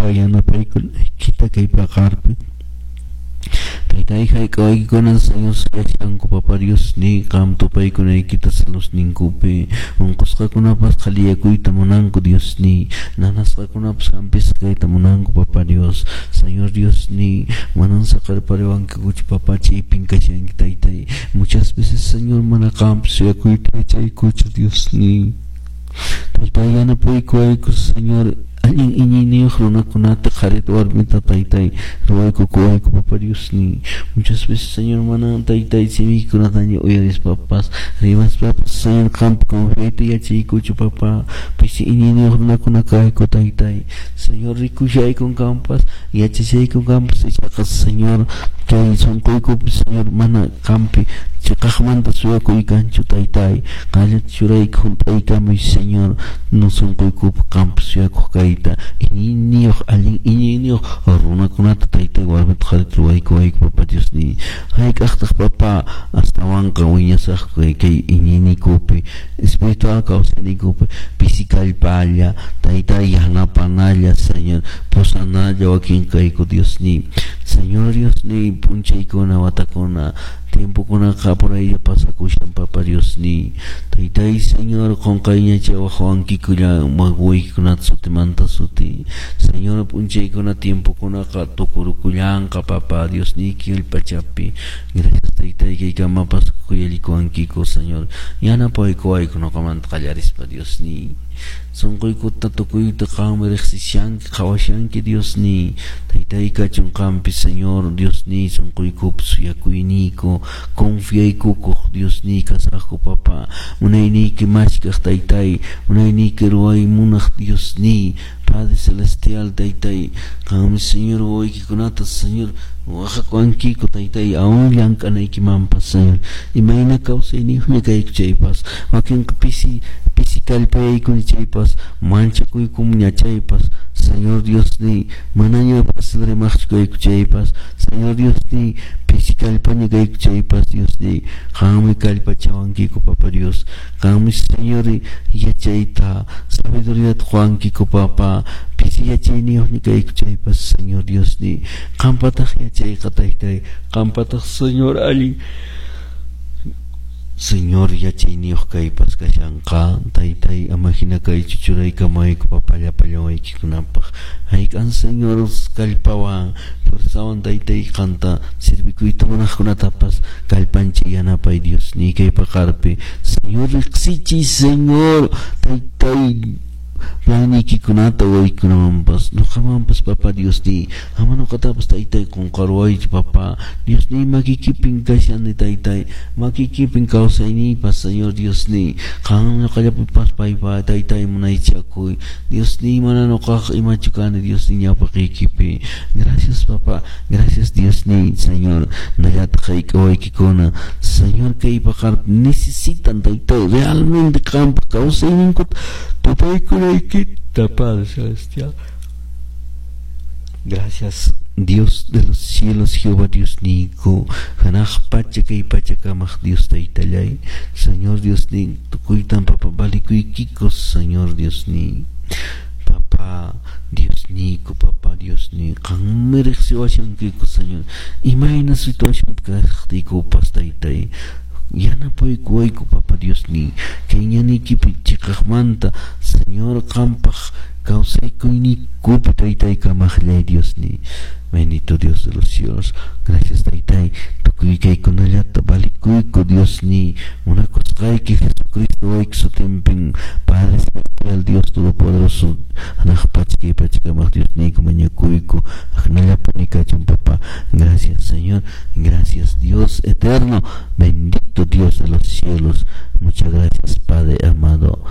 Papa, yanapaykunaykita kay paqarpi. Taytay, hayk'awaykikuna Señor suyashanku, Papa Diosniy, qam tupaykunaykita saludninkupi. Unqusqakunapas qhaliyakuyta munanku, Diosniy. Nanasqakunapas hampisqa kayta munanku, Papa Dios. Señor Diosniy, manan saqerpariwankikuchu, Papa, chaypin kashanki, Taytay. Muchas veces, Señor, mana qampi suyakuyta yachaykuchu, Diosniy. Taytay, yanapaykuwayku, Señor, allin iñiyniyuq runakunata, qharita, warmita, Taytay, ruwaykukuwayku, Papa Diosniy. Muchas veces, Señor, mana Taytay simiykunataña uyarispapas, rimaspapas, Señor, qampi confiayta yachaykuchu, Papa. Pisi iñiyniyuq runakuna kayku, Taytay. Señor, rikushaykun qampas, yachashaykun qampas, ichaqa, Señor, kay sunquykupi, Señor, mana qampi chiqaqmanta suyakuykanchu, Taytay. Qallata churayku hunt'aykamuy, Señor, no sunquykupi qampi suyakuq kayta, iñiyniyuq, allin iñiyniyuq runakunata, Taytay, warmita, qharita ruwaykuwayku, Papa Diosniy. Hayk'aqtaq, Papa, astawanqa wiñasaqku kay iñiyniykupi, espiritual kawsayniykupi, pisi kallpalla, Taytay, yanapanalla, Señor, pusanalla wakin kayku, Diosniy. Señor Diosniy, p'unchaykuna, watakuna, tiempokunaqa apuraylla pasakushan, Papa Diosniy. Taytay, Señor, qunqayña chawaqwankikulla wawaykikunata sutimanta suti. Señor, p'unchaykuna, tiempokunaqa tukurukullanqa, Papa Diosniyki pachapi. Gracias, Taytay, kaykamapas khuyallikuwankiku, Señor. Yanapaykuwayku ñuqamanta qallarispa, Diosniy. Sunquykuta tukuyta qammi riqsishanki, qhawashanki, Diosniy. Taytay, kachun qampi, Señor, Diosniy, sunquykupi suyakuyniyku, confiaykukuq, Diosniy, kasaqku, Papa. Munayniyki mashkaq, Taytay, munayniyki ruway munaq, Diosniy, Padre Celestial, Taytay, qammi, Señor, wawaykikunata, Señor, waqakuwankiku, Taytay, aún llank'anaykimanpas, Señor. Imayna kawsayniyuqña kayku chaypas, wakinqa pisi pisi kallpayaykuni chaypas, manchakuykumña chaypas, Señor Diosniy, manaña fácil rimaqchu kayku chaypas, Señor Diosniy, pisi kallpaña kayku chaypas, Diosniy, qammi kallpachawankiku, Papa Dios. Qammi, Señor, yachayta, sabiduríata quwankiku, Papa. Pisi yachayniyuqña kayku chaypas, Señor Diosniy, qampataq yachayqa, Taytay, qampataq, Señor, allin Señor yachayniyuq kaypas kashanqa. Taytay, ama hina kaychu, churaykamayku, Papa, llapallan waykikunapaq. Hayk'an, Señor, kallpawan, fuerzawan, Taytay, qanta sirvikuyta munaqkunatapas kallpanchay, yanapay, Diosniy, kay paqarpi. Señor, riqsichiy, Señor, Taytay, planiykikunata waykunamanpas, ñuqamanpas, Papa Diosniy. Ama ñuqatapas, Taytay, qunqaruwaychu, Papa Diosniy. Makikipin kashani, Taytay, makikipin kawsayniypas, Señor Diosniy. Qam ñuqallapipas paypa, Taytay, munaychakuy, Diosniy. Mana ñuqaq imachu kani, Diosniy, ñawpaqiykipi. Gracias, Papa, gracias, Diosniy. Señor, nallataq hayk'awaykikuna, Señor, kay paqarpi necesitan, Taytay, realmente qampa kawsayninkuta tupaykunaykita, Padre Celestial. Gracias, Dios de los cielos, Jehová Diosniyku, hanaq pacha kay pacha kamaq Dios Taytallay, Señor Diosniy, tukuytan, Papa, valikuykiku, Señor Diosniy. Papa Diosniyku, Papa Diosniy, qammi riqsiwashankiku, Señor, imayna situacionpi kaqtiykupas, Taytay, yanapaykuwayku, Papa Diosniy, kay ñaniykipi chiqaqmanta, Señor, qampaq kawsakuyniykupi, Taytay, kamaqllay, Diosniy. Bendito Dios de los cielos. Gracias, Taytay. Tukuy kaykunallata valikuyku, Diosniy. Munakusqayki Jesucristo wayki sutinpin, Padre Celestial, Dios Todopoderoso, hanaq pacha kay pacha kamaq Diosniyku mañakuyku. Aknallapuni kachun, Papá. Gracias, Señor. Gracias, Dios eterno. Bendito Dios de los cielos. Muchas gracias, Padre amado.